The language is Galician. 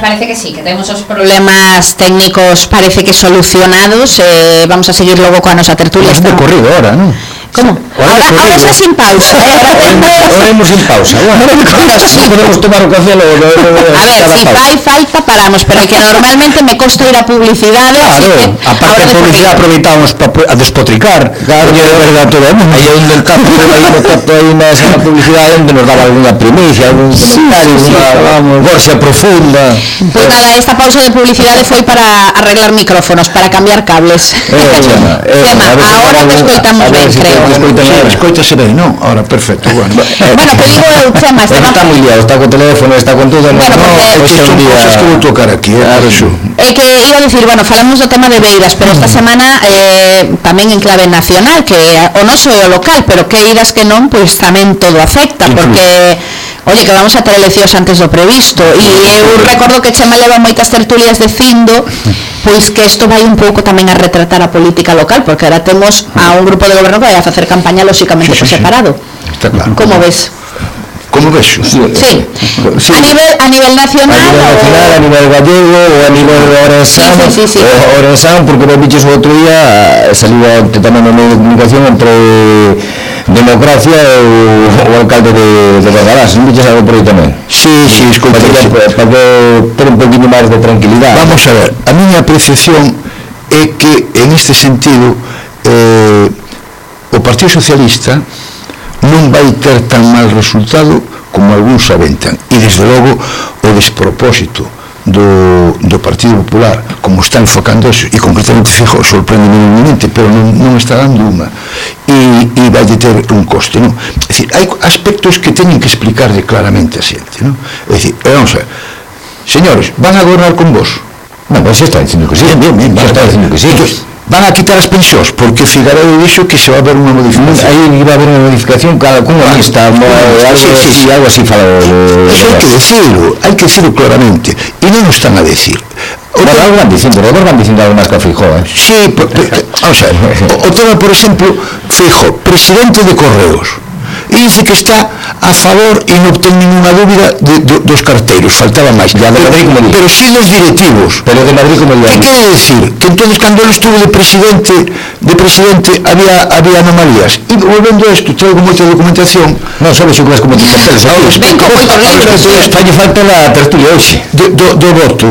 parece que sí, que temos os problemas técnicos parece que solucionados. Vamos a seguir logo coa nosa tertulia. Mas de corrido ahora, non? Como? Ahora xa sin pausa. Ahora imos sin pausa. Non podemos tomar o café logo. A ver, si fai falta paramos, pero que normalmente me costa ir a publicidade. Claro, aparte de publicidade aproveitamos a despotricar. Claro, de verdad todo o mundo. Aí onde el tapo aí na publicidade onde nos daba alguna primicia, algún comentario, vamos, Borxa profunda. Pois nada, esta pausa de publicidade foi para arreglar micrófonos, para cambiar cables. Chema, ahora te escoitamos ben, creo. Escoitase ben, non? Ahora, perfecto, bueno. Bueno, que digo eu, Chema, está moi liado, está co teléfono, está con todo. Bueno, porque son cosas que vou tocar aquí, É que iba a decir, bueno, falamos do tema de Beiras, pero esta semana tamén en clave nacional, que o noso é o local, pero que iras que non, pois tamén todo afecta, porque oye, que vamos a ter eleccións antes do previsto, e eu recordo que Chema leva moitas tertulias dicindo pois que isto vai un pouco tamén a retratar a política local, porque ahora temos a un grupo de goberno que vai a facer campaña lóxicamente por separado. Está claro. Como ves? Como vexo? Sí. A nivel nacional, a nivel gallego, ou a nivel Orensan, porque me biches o outro día saliu tamén no medio de comunicación entre Democracia e o alcalde de Bordalás, non biches algo por aí tamén? Sí, escoito. Para ter un poquinho máis de tranquilidade. Vamos a ver, a miña apreciación é que en este sentido o Partido Socialista non vai ter tan mal resultado como algúns aventan, e desde logo o despropósito do Partido Popular, como está enfocando eso, e concretamente Feijóo sorprende enormemente, pero non está dando unha, e vai ter un coste, non? É dicir, hai aspectos que teñen que explicarle claramente a xente, non? É dicir, vamos a ver, señores, van a gobernar con vos? Non, pois está dicindo que sí. Bien, está dicindo que sí. Van a quitar as pensións, porque Figueiredo dixo que se va a haber unha modificación. Aí iba a haber unha modificación cunha lista, algo así falou. Eso hai que decirlo claramente, e non o están a decir. Algo van dicindo algo máis que a Feijóo, Sí, vamos a ver, o tema, por exemplo, Feijóo, presidente de Correos, e dice que está a favor e non ten ninguna dúbida dos carteiros, faltaba máis, pero sí dos directivos. Pero de Madrid como que quere decir? Que entonces cando ele estuvo de presidente había anomalías, e volvendo a isto, traigo moita documentación. Non sabes o que vas como te papeles ao respecto, falta a tertulia hoxe do voto